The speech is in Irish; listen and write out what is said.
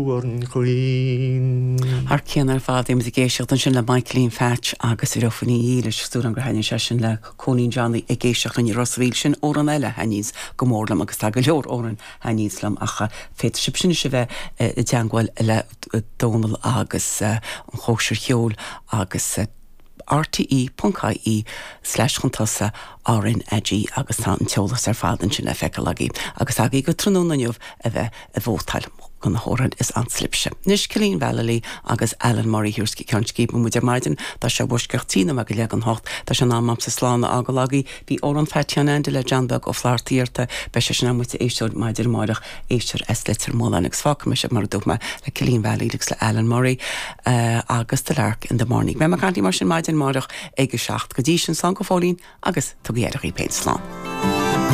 An chaoin. Thar cionn ar fad, bhí muid ag éisteacht ansin le Michaelín Phatch agus Reofaíní Dhílis. Súil agam gur thaitnigh sé sin le Cóilín Johnny ag éisteacht linn i Ros a' Mhíl. Sin amhrán eile a thaitníonns go mór liom agus tá go leor amhrán a thaitníonns liom ach féadfaidh sibh sin anois a bheith i dteangmháil le Dónal agus an chóisir cheoil agus rte.ie slash chun tosaigh RnaG agus tá an t-eolas ar fad ansin le feiceáil agaibh agus agaibh go tráthnóna inniu a bheith ag vótáil do na hamhráin is ansa libhse. Anois Cillian Vallely agus Alan Murray thiar sa Ceann Scríbe muid ar maidin. Tá sé i bhfoisceacht 13 nóiméad go leith don hocht. Tá sé in am a'msa slán a fhágáil agaibh. Bhí amhrán Phatty Sheáin Aindí le John Beag Ó Flatharta iarrta. Beidh sé sin a'm muid a éisteoir maidin amáireach éisteoir as Leitir Mealláin agus fágfaidh mé sibh mar a dúirt mé le Cillian Vallely agus le Alan Murray agus The Lark in the Morning. Beidh mé ag caint libh mar sin maidin amáireach ag a 7. Go dtí sin slán go fóillín agus tugaigí aire dhaoibh féin. Slán.